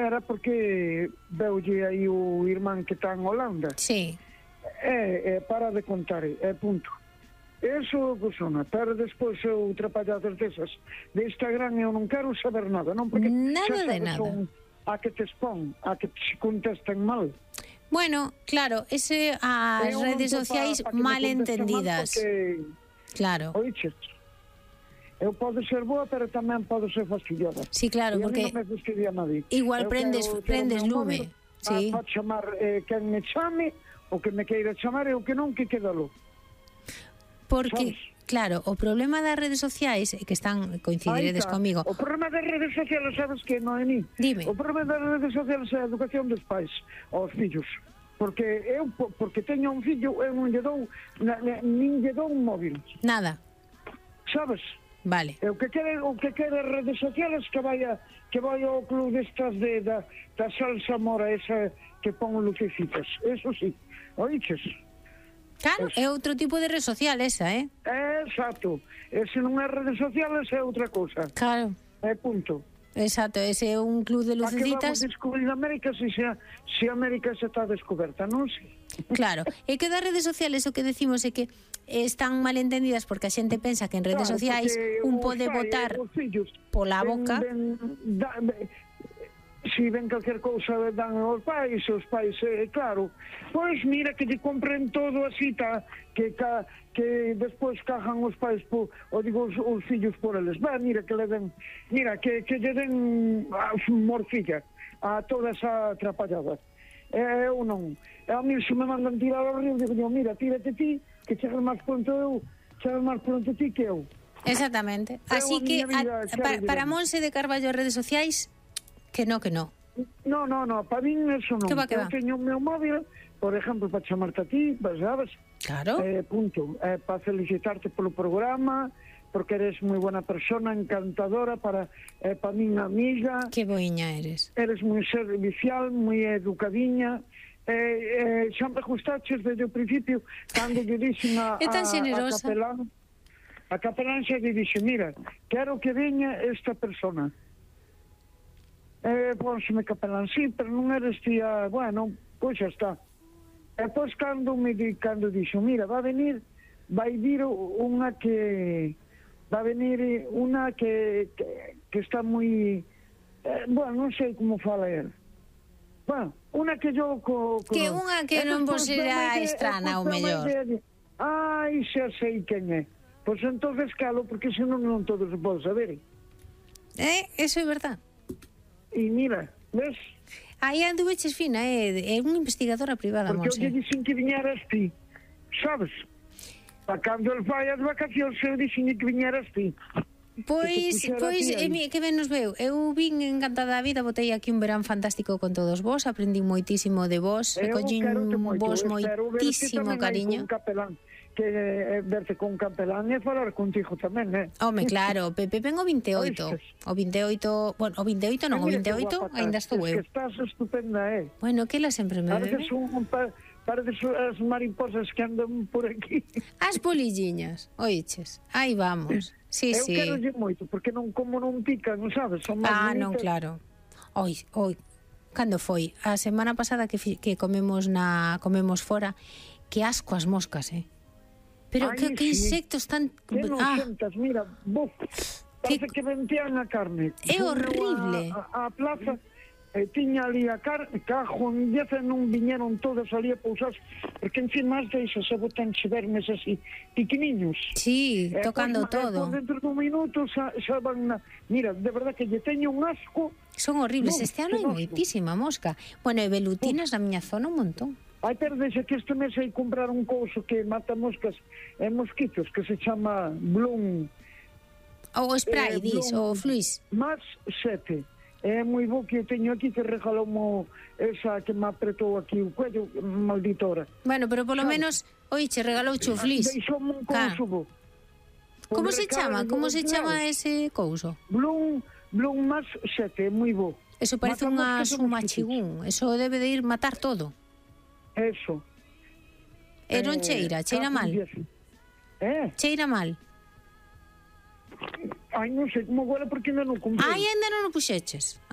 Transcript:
era porque veulle aí o irmán que está en Holanda. Sí. Para de contar, punto. Eso, persona, pero despois eu trapalladas desas de Instagram eu non quero saber nada, non? Porque Nada de xa sabes, nada. son a que te expón, a que te contesten mal. Bueno, claro, as redes sociais mal entendidas. Porque, claro. oiches, eu podo ser boa, pero tamén podo ser fastidiosa. Sí, claro, E porque a mí non me fastidia nadie. igual Eu prendes lume. Sí. Para chamar quen me chame, o que me queira chamar, e o que non, que quedalo. Porque, sabes? claro, o problema das redes sociais é que coincidiredes comigo. O problema das redes sociales, sabes que, Noemí? Dime. O problema das redes sociales é a educación dos pais aos fillos. Porque porque teño un fillo, eu non lle dou, nin lle dou un móvil. Nada. Sabes? Vale. O que quere as redes sociales que vai ao club destas da salsa mora esa que pon lucecitas. Eso sí. Oiches? Claro, é outro tipo de red social esa, Exacto. E se non é redes sociales é outra cousa. Claro. Punto. Exacto, ese é un club de lucecitas. A que vamos descubrir América se América xa está descoberta, non sei. Claro, é que das redes sociales o que decimos é que están mal entendidas porque a xente pensa que en redes sociais un pode votar pola boca. Si ven calquer cousa dan aos pais, claro, pois mira que lle compren todo así, que despois cajan os pais, os fillos por eles. Mira que lle den morcilla a toda esa atrapallada. Eu non. A mí se me mandan tirar ao río, digo, mira, tírate ti, que chegas máis pronto ti que eu. Exactamente. Así que para Monse de Carballo redes sociais, que no. No, para min eso non. Eu teño o meu móvil, por exemplo, para chamarte a ti, sabes? Claro. Punto. Para felicitarte polo programa, porque eres moi buena persona, encantadora, para min amiga. Que boiña eres. Eres moi servicial, moi educadiña. Xa me gustaches desde o principio, cando lle dixen a capelán. A capelán xa lle dixe, mira, quero que veña esta persona. Pónseme capelán, sí, pero non eres tía, bueno, pois xa está. E pois cando dixo, mira, vai vir unha que está moi, bueno, non sei como fala él. Bueno, unha que yo que unha que non vos será estrana ou mellor. Ai, xa sei quen é. Pois entonces calo, porque senón non todos se pode saber. Eso é verdad. E mira, ves? Aí anduveches fina, é unha investigadora privada, Monse. Porque eu lle dixen que viñeras ti, sabes? Para cando el vai as vacacións, eu dixen que viñeras ti. Pois, que ben nos veu. Eu vin encantada da vida, botei aquí un verán fantástico con todos vos, aprendí moitísimo de vos, recollín vos moitísimo cariño. Que verte con capelán e falar contigo tamén, Home, claro, Pepe ven o 28. O 28, bueno, o 28 non, o 28 ainda estou eu. Que estás estupenda, Bueno, que ela sempre me bebe. Pareces as mariposas que andan por aquí. As polilliñas, oiches, aí vamos. Sí, eu quero moito, porque como non pican, sabes? Son máis non, claro. Oi, cando foi? A semana pasada que comemos fora, que asco as moscas, Pero que insectos tan... Que noxentas, mira, parece que ventean a carne. É horrible. A plaza tiña ali a carne, cajo en 10 non viñeron todos ali a pousar, porque encima as deixas se botan vermes así, piqueniños. Sí, tocando todo. Dentro dun minuto xa van Mira, de verdad que lle teño un asco. Son horribles, este ano hai moitísima mosca. Bueno, e velutinas na miña zona un montón. Ai, pero deixa que este mes hai comprar un couso que mata moscas e mosquitos, que se chama Bloom. O spray, o fluis. Más 7. É moi bo que eu teño aquí, que regalou esa que me apretou aquí o cuello, malditora. Bueno, pero polo menos, oiche, regalou o fluis. Deixoume un couso bo. Como se chama? Como se chama ese couso? Bloom más 7, é moi bo. Eso parece un machigún. Eso debe de ir matar todo. Eso. E non cheira mal. Cheira mal. Ai, non sei como agora porque ainda non comprei. Ai, ainda non o puxeches.